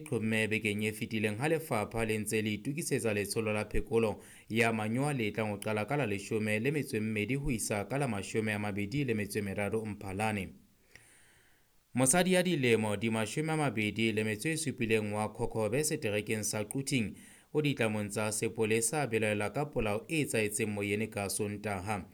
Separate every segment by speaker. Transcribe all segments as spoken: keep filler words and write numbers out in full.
Speaker 1: qhomme bekeng e fetileng ha lefapha le ntse le itokisetsa letsholo la phekolo ya manyowa le tlang ho qala ka la leshome le metso e mmedi ho isa ka la mashome a mabedi le metso e meraro Mphalane. Mosadi ya dilemo di mashome a mabedi le metso e supileng wa Khokhobe seterekeng sa Quthing o ditlamong tsa sepolesa a belaela ka polao e etsahetseng moyene ka Sontaha.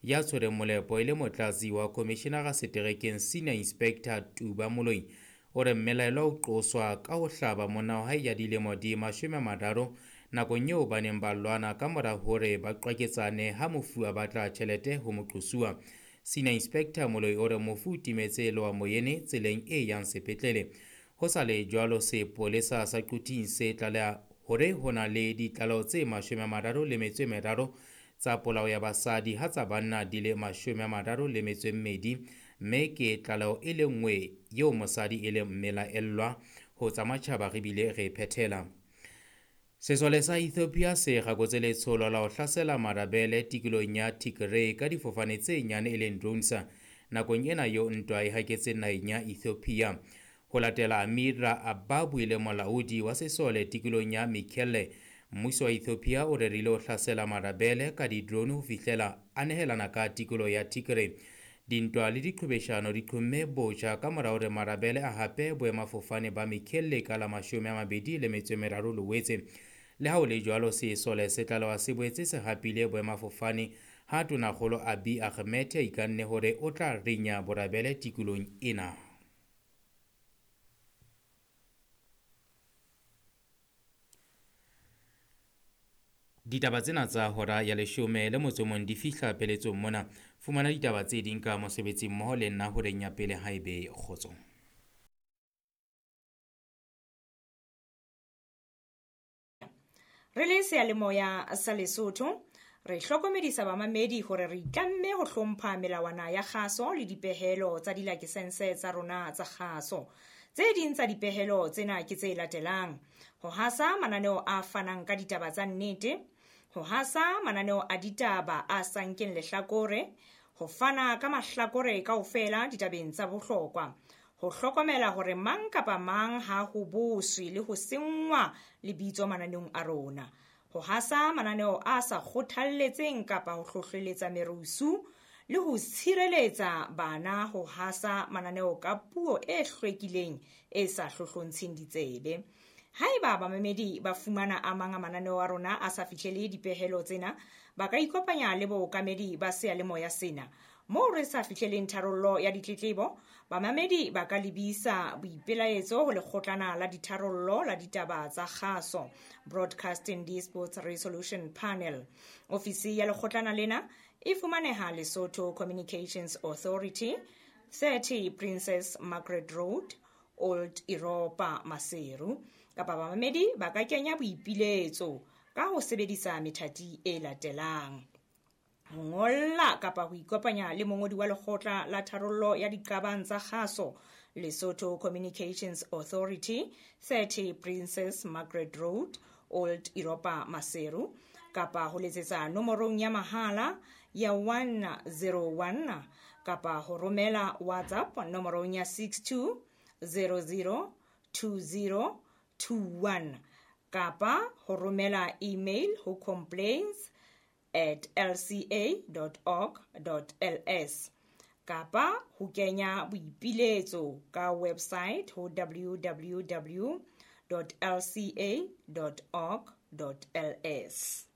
Speaker 1: Ya tshwereng molepo e le motlatsi wa komishenara seterekeng Senior Inspector Tuba Moloi o re mmelaelwa o qoswa ka ho hlaba monna wa hae ya dilemo di mashome a mararo nakong eo ba neng ba lwana ka mora hore ba qwaketsane ha mofu a batla tjhelete ho moqosuwa. Senior Inspector Moloi o re mofu o timetse lowa moyene tseleng e yang sepetlele. Ho sa le jwalo, sepolesa sa Quthing se tlaleha hore ho na le ditlaleho tse mashome a mararo le metso e meraro tsa polao ya basadi ha tsa banna di le mashome a mararo le metso e mmedi, mme ke tlaleho e le nngwe eo mosadi e leng mmelaellwa. Ho tsa matjhaba re bile re phethela. Sesole sa Ethiopia se kgakotse letsholo la ho hlasela marabele tikolong ya Tigray ka difofane tse nyane e leng drones nakong ena eo ntwa e haketseng naheng ya Ethiopia. Ho latela Amira Ababu e le molaodi wa sesole tikolong ya Mekelle, mmuso wa Ethiopia o rerile ho hlasela marabele ka di-drone ho fihlela a nehelana ka tikolo ya Tigray. Dintwa le diqhwebeshano di qhomme botjha ka mora hore marabele a hape boemafofane ba Mekelle ka la mashome a mabedi le metso e meraro Loetse. Le ha ho le jwalo, sesole se tlalewa se boetse se hapile boemafofane ha Tonakgolo Abiy Ahmed a ikanne hore o tla rinya borabele tikolong ena. Ditaba tsena tsa hora ya leshome le motso mong di fihla peletsong mona. Fumana ditaba tse ding ka mosebetsi mmoho le nna horeng ya pele haebe kgotso.
Speaker 2: Re le seyalemoya sa Lesotho, re hlokomedisa bamamedi hore re itlamme ho hlompha melawana ya kgaso le dipehelo tsa dilakesense tsa rona tsa kgaso. Tse ding tsa dipehelo tsena ke tse latelang: ho hasa mananeo a fanang ka ditaba tsa nnete, ho hasa mananeo a ditaba a sa nkeng lehlakore, ho fana ka mahlakore kaofela ditabeng tsa bohlokwa, ho hlokomela hore mang kapa mang ha ho boswe le ho senngwa lebitso mananeong a rona, ho hasa mananeo a sa kgothalletseng kapa ho hlohleletsa merusu, le ho tshireletsa bana ho hasa mananeo ka puo e hlwekileng e sa hlohlontsheng ditsebe. Haeba bamamedi ba fumana a mang a mananeo a rona a sa fihlele dipehelo tsena, ba ka ikopanya le bookamedi ba seyalemoya sena. Moo re sa fihleleng tharollo ya ditletlebo, bamamedi ba ka lebisa boipelaetso ho lekgotlana la ditharollo la ditaba tsa kgaso, Broadcasting Disputes Resolution Panel. Ofisi ya lekgotlana lena e fumaneha Lesotho Communications Authority, thirty Princess Margaret Road, Old Europa, Maseru. Kapa bamamedi ba ka kenya boipiletso ka ho sebedisa methati e latelang: ho ngolla kapa ho ikopanya le mongodi wa lekgotla la tharollo ya diqabang tsa kgaso, Lesotho Communications Authority, thirty Princess Margaret Road, Old Europa, Maseru, kapa ho letsetsa nomorong ya mahala ya one zero one kapa ho romela WhatsApp nomorong ya six two zero zero two zero two one kapa ho romela email ho complaints at l c a dot org dot l s kapa ho kenya boipiletso ka website ho w w w dot l c a dot org dot l s.